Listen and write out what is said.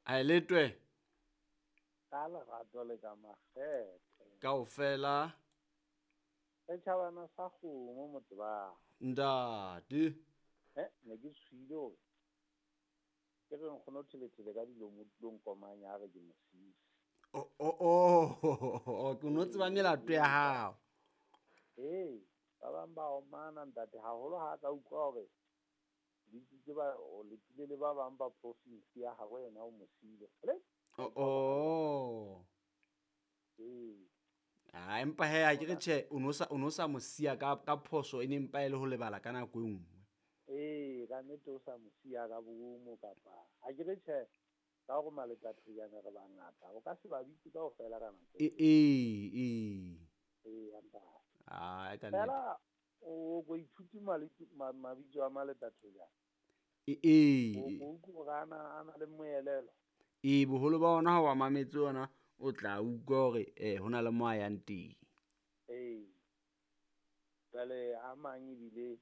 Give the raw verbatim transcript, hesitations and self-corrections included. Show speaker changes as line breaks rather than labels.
A e letwe.
Ka lerato le ka makgethe.
Kaofela.
Setjhabana sa kgomo motebang.
Ntate.
Eh, ne ke tshohile hore ke re nkgono Thelethele ka dilomo tulong komanya a re ke mosisi.
Oh, oh, oh, ke no tseba melato ya hao.
Ee, ba bang ba omana ntate haholo ha ka utlwa hore bitsitse ba o letile le ba bang ba province ya habo yena o mo siile. Le?
Oh, oh.
Ee.
Ah, empa he ha ke re tjhe, o no sa o no sa mo siya ka ka phoso e ne mpa e le ho lebala ka nako e nngwe.
Ee, ka nnete o sa mo siya ka boomo kapa ha ke re tjhe, ka hore maletathojana re bangata, o ka se ba bitse kaofela ka nako.
E ee, ee.
Ee, ntate.
Ah, ka nnete.
Fela o ko ithuti mabitso a maletathojana.
E ee.
O ko utlwe hore ana a na le moelelo.
Ee, boholo ba ona ha wa mametse ona o tla utlwa hore eh ho na le mo a yang teng.
Ee. Jwale a mang ebile